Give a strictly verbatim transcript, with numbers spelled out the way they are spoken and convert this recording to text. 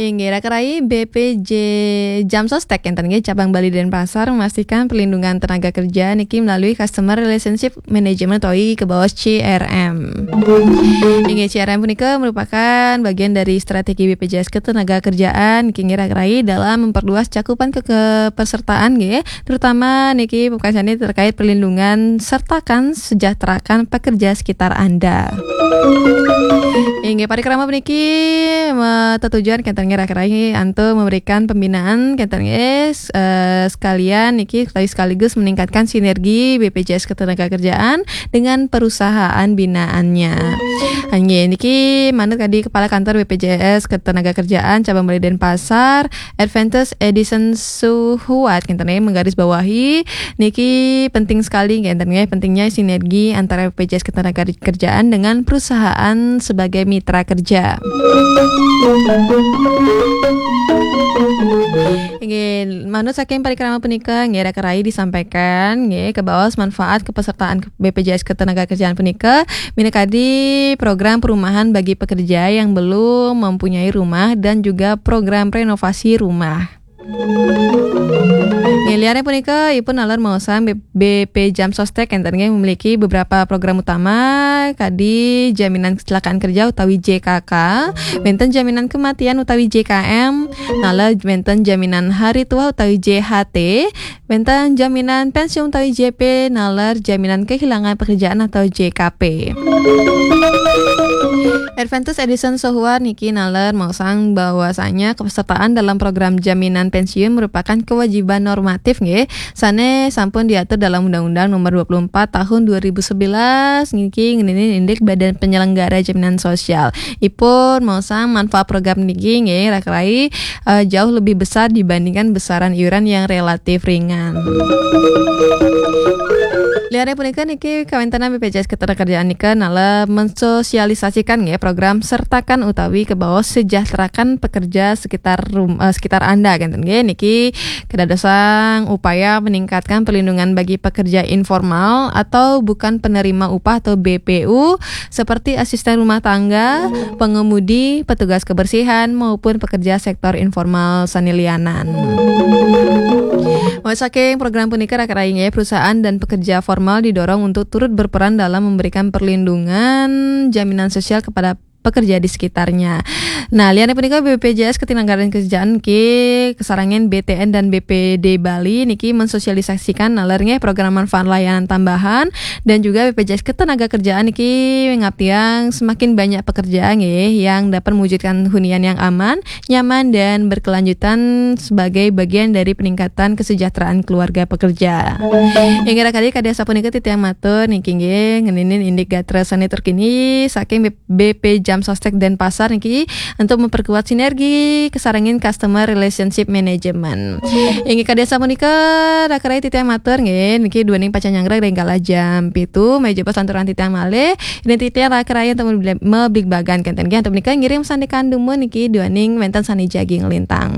Inggih, rakan rayi, B P J Jamsostek enten nggih, cabang Bali Denpasar memastikan perlindungan tenaga kerja niki melalui Customer Relationship Management utawi kebaos C R M. Inggih, C R M punika merupakan bagian dari strategi B P J S Ketenagakerjaan niki nggih, rakan rayi, dalam memperluas cakupan ke- kepesertaan nggih, terutama niki pungkasane terkait perlindungan sertakan sejahterakan pekerja sekitar Anda. Inggih, parikrama puniki me- tetujuan kenten nggih, rakan rayi, antuk memberikan pembinaan kenten nggih, eh, sekalian niki utawi sekaligus meningkatkan sinergi B P J S Ketenagakerjaan dengan perusahaan binaannya. Inggih, niki manut kadi Kepala Kantor B P J S Ketenagakerjaan Cabang Bali Denpasar, Adventist Edison Suhuat kenten nggih menggarisbawahi niki penting sekali nggih, enten nggih, pentingnya sinergi antara B P J S Ketenagakerjaan dengan perusahaan sebagai mitra kerja. Inggih, manut saking parikrama punika nggih, rakan rayi, disampaikan nggih, kebaos manfaat kepesertaan B P J S Ketenagakerjaan punika minangkadi program perumahan bagi pekerja yang belum mempunyai rumah dan juga program renovasi rumah. Nggih, liane punika, ipun naler maosang B- B P Jamsostek enten nggih memiliki beberapa program utama, kadi jaminan kecelakaan kerja utawi J K K, wenten jaminan kematian utawi J K M, naler wenten jaminan hari tua utawi J H T, wenten jaminan pensiun utawi J P, naler jaminan kehilangan pekerjaan atau J K P. Adventist Edison Sohuar niki naler maosang bahwasanya kepesertaan dalam program jaminan pensiun merupakan kewajiban normatif nggih, sane sampun diatur dalam Undang-Undang Nomor dua puluh empat Tahun dua ribu sebelas niki ngeninin indik Badan Penyelenggara Jaminan Sosial. Ipun maosang manfaat program niki nggih, rakan rayi, eh, jauh lebih besar dibandingkan besaran iuran yang relatif ringan. Liane punika niki kawentenan B P J S Ketenagakerjaan nika naler mensosialisasikan nggih program sertakan utawi kebaos sejahterakan pekerja sekitar rum- eh, sekitar Anda kenten nggih, niki kedadosang upaya meningkatkan perlindungan bagi pekerja informal atau bukan penerima upah atau B P U seperti asisten rumah tangga, pengemudi, petugas kebersihan maupun pekerja sektor informal sane lianan. Mawit saking program punika, rakan rayi nggih, perusahaan dan pekerja formal didorong untuk turut berperan dalam memberikan perlindungan jaminan sosial kepada pekerja di sekitarnya. Nah, liane punika, B P J S Ketenagakerjaan niki kesarengan B T N dan B P D Bali niki mensosialisasikan naler nggih program manfaat layanan tambahan dan juga B P J S Ketenagakerjaan niki ngaptiang semakin banyak pekerja nggih yang dapat mewujudkan hunian yang aman, nyaman dan berkelanjutan sebagai bagian dari peningkatan kesejahteraan keluarga pekerja. Inggih, rakan rayi, kadi asapunika titiang matur niki nggih ngeninin indik gatra sane terkini saking B- B P Jamsostek Denpasar niki untuk memperkuat sinergi kesarengin customer relationship management. Inggih, kadi asapunika rakan rayi, titiang matur nggih niki duaning pacang nyanggra ring galah jam pitu, malih jebos lanturang titiang malih. Indik titiang rakan rayi untuk mebli- mebligbagan kenten nggih, antuk punika ngiring sandekan dumun niki duaning wenten sane jagi nglintang.